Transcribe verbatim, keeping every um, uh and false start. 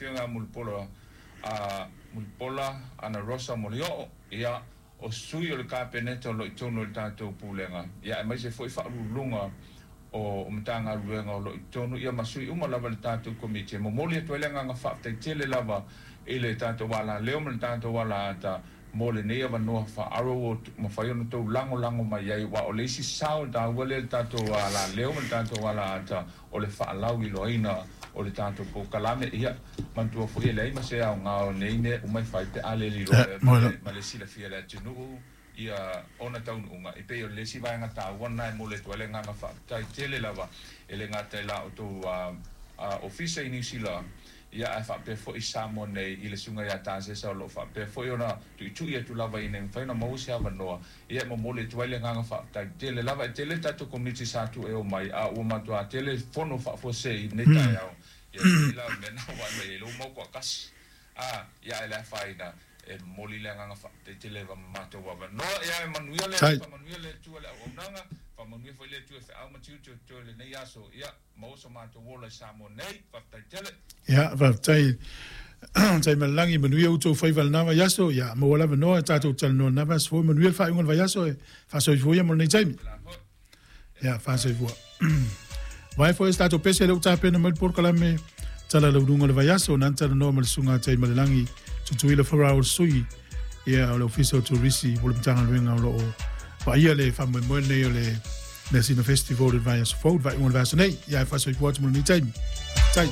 Afioga Mulipola a Mulipola Ana Rosa Molioo, ia o sui o le Kapeneta o lo o i totonu o le tatou Pulega, ia aemaise foi faauluuluga o o Matagaluega o lo o i totonu, ia ma sui uma lava i le tatou Komiti. E momoli atu ai le agaga faafetai tele lava i le tatou alaleo ma le tatou alaata mo lenei avanoa faaaro ua mafai ona outou lagolago mai ai, aua o le isi sao taua lea i le tatou alaleo ma le tatou alaata o le faalauiloaina o le tatou polokalame. Ia, manatua foi e leai ma se aoga o nei mea uma e fai pe a le liloa ma le silafia e le atunuu ia ona taunuuga. E pei o le isi vaega taua lena e momoli atu ai le agaga faafetai tele lava e le gata i la outou ofisa i Niu Sila, ia ae faapea foi i Samoa nei i le susuga ia Tasesa o lo o faapea foi ona tuitui atu lava ina ia mafai ona maua se avanoa. Ia e momoli atu ai le agaga faafetai tele lava. E tele le tatou Komiti sa tuu e omai, a ua matua tele fono faafuasei i lenei taeao. Ia e pei la o le mea lena ua vaai mai ai lea ua maua toatasi. A, ia ae le afaina, e momoli le agaga faafetai tele lava ma matou avanoa. Ia e manuia le faamanuia le Atua i le auaunaga, faamanuia foi le Atua i feau ma tiute o totoe i lenei aso. Ia maua so matou ola i Samoa nei. Faafetai tele. Ia, faafetai Taimalelagi, manuia outou faiva i lena vaiaso. Ia, maua le avanoa e tatou talanoa i lena vaiaso fou. Manuia le faaiuga o le vaiaso e faasoifua ia mo lenei taimi. Ia, faasoifua. Vae foi se tatou pese lea ua tapena mai le polokalame Tala Launuga o le vaiaso, na talanoa ma le susuga Taimalelagi Tutuila Farao o le sui ia o le Ofisa o Turisi o le Matagaluega o lo o vaaia le faamoemoe lenei o le Measina Festival i le vaiaso fou, le faaiuga o le vaiaso nei. Ia, e faasoifua atu mo lenei taimi. Tai.